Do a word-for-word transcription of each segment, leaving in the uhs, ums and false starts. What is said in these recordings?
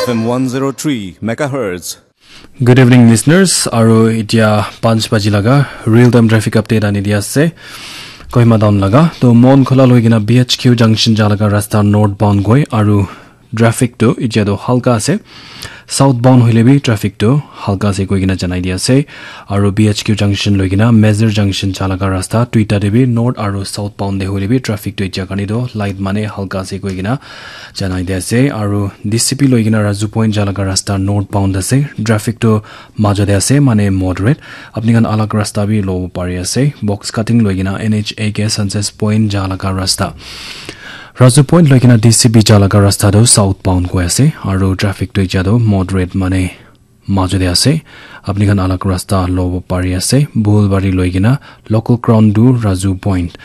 F M one zero three megahertz. Good evening, listeners. Aru itia panch baji laga real time traffic update ani dia ase. Kohima town laga. To Mon Khola loi kena B H Q junction ja laga rasta northbound goi aru traffic to itia to halka ase. Southbound hoile bi traffic to halka ase koi kena janai dia ase. Aru B H Q junction loi kena Mezir junction ja laga rasta tuita te bi north aru southbound te hoile bi traffic to itia karne to light mane halka ase koi kena janai dia ase. Aru D C P loi kena Raju Point ja laga rasta northbound ase. Traffic to majo te ase mane moderate. Apni khan alag rasta bi lobo pari ase. Box cutting loi kena N H A ke Sunset Point ja laga rasta. Raju Point loi kena D C P ja laga rasta to southbound goi ase. Aru traffic to itia to moderate mane majo te ase. Apni khan alag rasta lobo pari ase. Bulbari loi kena local ground to Raju Point.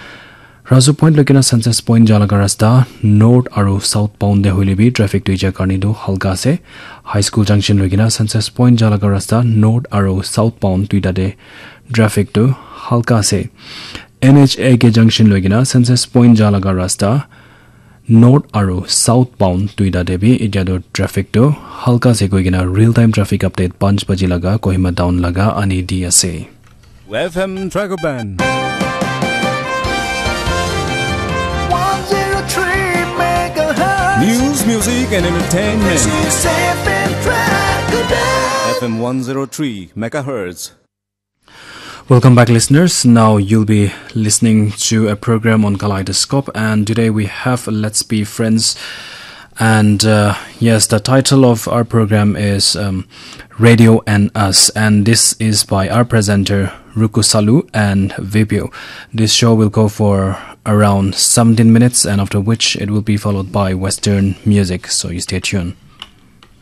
Raju Point loi kena Sunset Point ja laga rasta north aru southbound te hoile bi traffic to itia karne to halka ase. High School junction loi kena Sunset Point ja laga rasta north aru southbound tuita te traffic to halka ase. N H A ke junction loi kena Sunset Point ja laga rasta north aru southbound tuita te bi itia to traffic to halka ase koi kena real time traffic update panch baji laga Kohima town laga ani di ase. F M Dragon Band. One zero three megahertz. News, music, and entertainment. This is F M Dragon Band. F M one zero three megahertz. Welcome back, listeners. Now you'll be listening to a program on Kaleidoscope, and today we have Let's Be Friends. And uh, yes, the title of our program is um, Radio and Us, and this is by our presenter Ruku Salu and Vipio. This show will go for around seventeen minutes, and after which it will be followed by Western music. So you stay tuned.